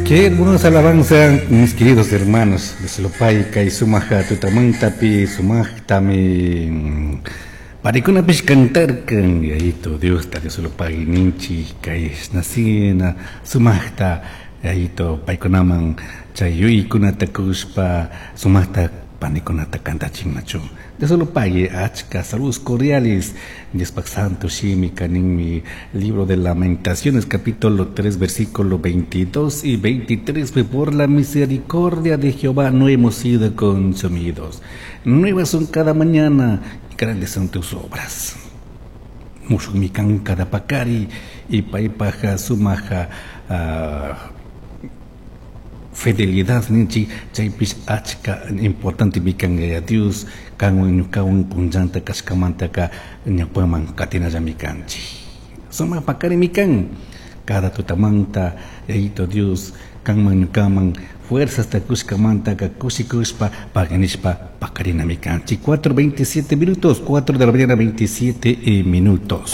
Qué hermosa alabanza, mis queridos hermanos. Dios kay sumaq tutamantapi sumaqtami parikunapish cantarkan Yayito Diosta Dios lo pague ninchik kay nasina sumaqta Yayito paykunaman chay yuyaykunata kushpa sumaqta panikunata kantachinmachu. Dios lo pague achka saludos cordiales. Diospaj Santo Shimi kaninmi libro de Lamentaciones capítulo 3 versículo 22 y 23 por la misericordia de Jehová no hemos sido consumidos. Nuevas son cada mañana y grandes son tus obras. Mushukmi kan cada paqari y paypaj sumaq fidelidad ninchik chaypish achka importante kan Yaya Dios kanwan ñukawan punllanta kashkamantaka ñawpaman katinallami kanchik sumaq paqarimi kan cada tutamanta Yayito Dios kanman ñukaman fuerzasta kushkamantaka kushikushpa paganishpa paqarinami kanchik 4:27 minutos, 4 de la mañana 27 minutos.